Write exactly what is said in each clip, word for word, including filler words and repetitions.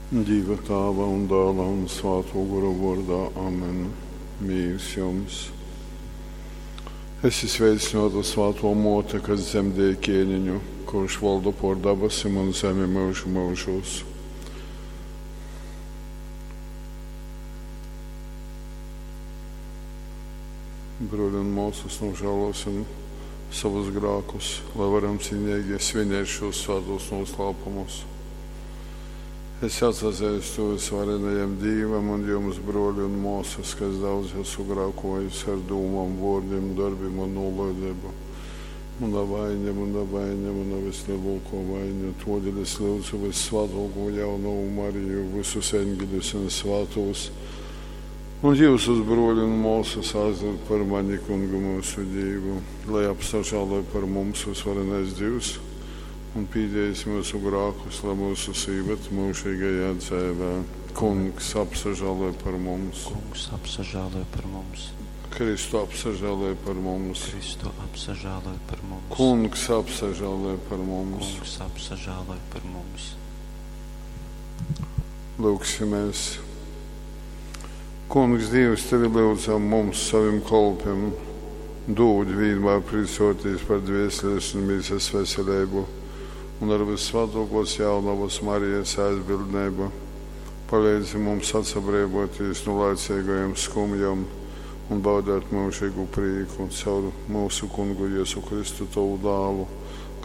Dīva Tāva un Dāla un Svātō Gora vōrdā. Amen. Mīrs jums. Esi sveicināta Svātō Mōte, kas dzemdēja ķēniņu, kurš valda pār dabasim un zemi mūžu mūžos. Bruļi un māsas, nožēlosim savus grēkus, lai varam cienīgi svinēt šos svētos noslēpumus. Es atsazīstu visvarenajam Dīvam un jums, broļi un māsas, kas daudz esmu grēkojis ar dūmām, vārdiem, darbiem un nolaidību. Mana vaina, mana vaina, mana vislielākā vaina. Todēļ es lūdzu vissvētāko jaunavu Mariju, visus eņģeļus un svētos, un jūsus, broļi un māsas, aizlūgt par mani, kungu mūsu Dievu, lai apsažāloj par mums visvarenais Dievs un pīdējis mūsu grēkus, lai mūsu sīvet mūžīgajā dzīvē. Kungs apsažāloj par mums. Kungs apsažāloj par mums. Kristu apsažāloj par mums. Kristu apsažāloj par mums. Kungs apsažāloj par mums. Kungs apsažāloj par mums. Lūgsimies. Kungs, Dievs, tevi lūdzam mums, savim kolpiem, dod vienmēr priecoties par dvēseles un mīsas veselību un ar visvētākos jaunavas Marijas aizbildnību. Palīdzi mums atsabrīvoties no laicīgajiem skumjām un baudīt mūžīgu prieku caur mūsu kungu Jēzu Kristu tavu dālu,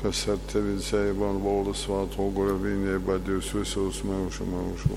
kas ar tevi dzīvo un valda svēto gora vienībā Dievs visos mūžu mūžos.